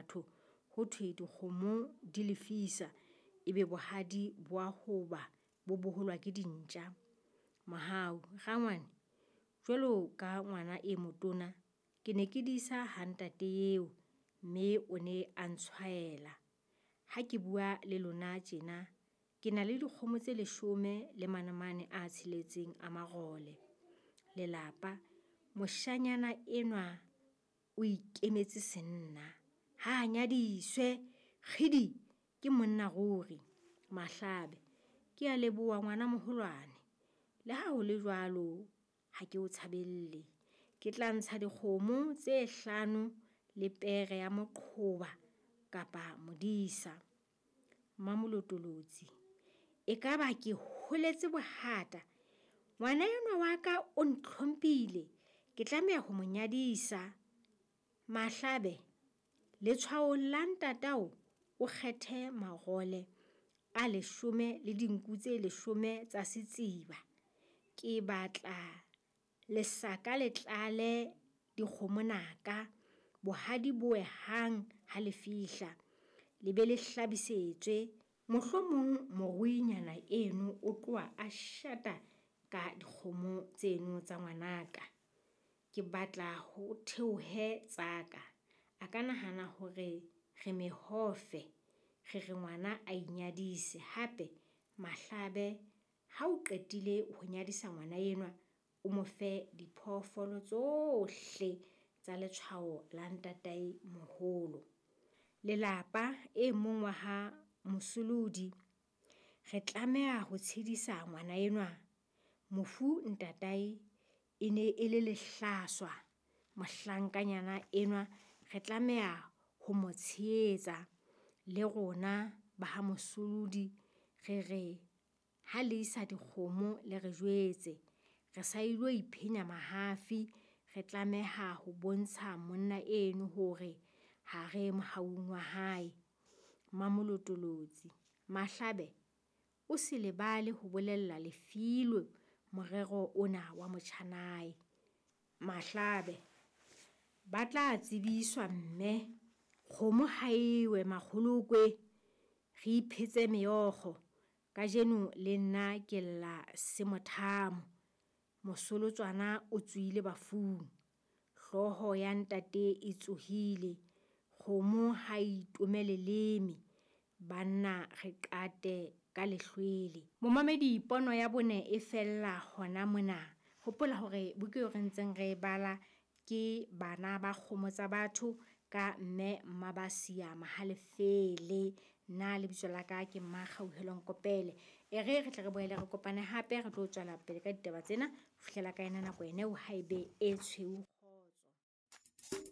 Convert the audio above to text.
batho. Ho thwe dikgomo di lefisa, ebe bohadi bo a hoba bo boholwa ke dintja. Mohau, rangwane, jwalo ka ngwana e motona, ke ne ke disa ha ntate eo, mme o ne a ntshwaela. Ha ke bua le lona tjena, ke na le dikgomo tse 10 le manamane a tsheletseng a marole. Lelapa, moshanyana enwa o ikemetse senna, ha nyadiswe, kgidi! Ke monna ruri. Mahlabe, ke a leboha ngwana moholwane. Le ha ho le jwalo, ha ke o tshabelle. Ke tla ntsha dikgomo tse 5 le pere ya moqhoba kapa modisa. Mmamolotolotsi, ekaba ke holetse bohata. Ngwana enwa wa ka o ntlhomphile, ke tlameha ho mo nyadisa. Mahlabe, letshwaong la ntatao o kgethe marole a 10 le dinku tse 10 tsa setsiba. Ke batla lesaka le tlale dikgomo naka, bohadi bo we hang ha le fihla, le be le hlabisetswe. Mohlomong moruinyana eno o tloha a shata ka dikgomo tseno tsa ngwanaka. Ke batla ho theohe tsa ka. A ka nahana hore re mehofe, re re ngwana a inyadise. Hape Mahlabe, ha o qetile ho nyadisa ngwana enwa, o mo fe diphoofolo tsohle tsa letshwao la ntatae moholo. Lelapa, e mong wa ha Mosolodi, re tlameha ho tshedisa ngwana enwa. Mofu ntatae e ne e le lehlaswa, mohlankanyana enwa re tlameha ho mo tshehetsa. Le rona ba ha Mosolodi re re ha le isa dikgomo le re jwetse. Re sa ilo iphenya mahafi, re tlameha ho bontsha monna eno hore ha re mohaung wa hae. Mmamolotolotsi, Mahlabe o se lebale ho bolella Lefilwe morero ona wa motjhanae. Mahlabe, ba tla tsebiswa mme, kgomo ha ewe makgolokwe, re iphetse meokgo. Kajeno le nna ke lla semothamo. Mosolotswana o tsohile bafung. Hlooho ya ntate e tsohile. Kgomo ha e itome leleme. Banna re qate ka lehlwele. Momamedi, pono ya bone e fella hona mona. Hopola hore buka eo re ntseng re e bala ke Bana ba Kgomo Tsa Batho ka mme Mmabasia Mohalefele. Nna lebitso la ka ke Mmakgauhelo Nkopele. E re re tle re boele re kopane hape, re tlo tswela pele ka ditaba tsena ho fihlela ka ena nako ena eo haebe e tshweu.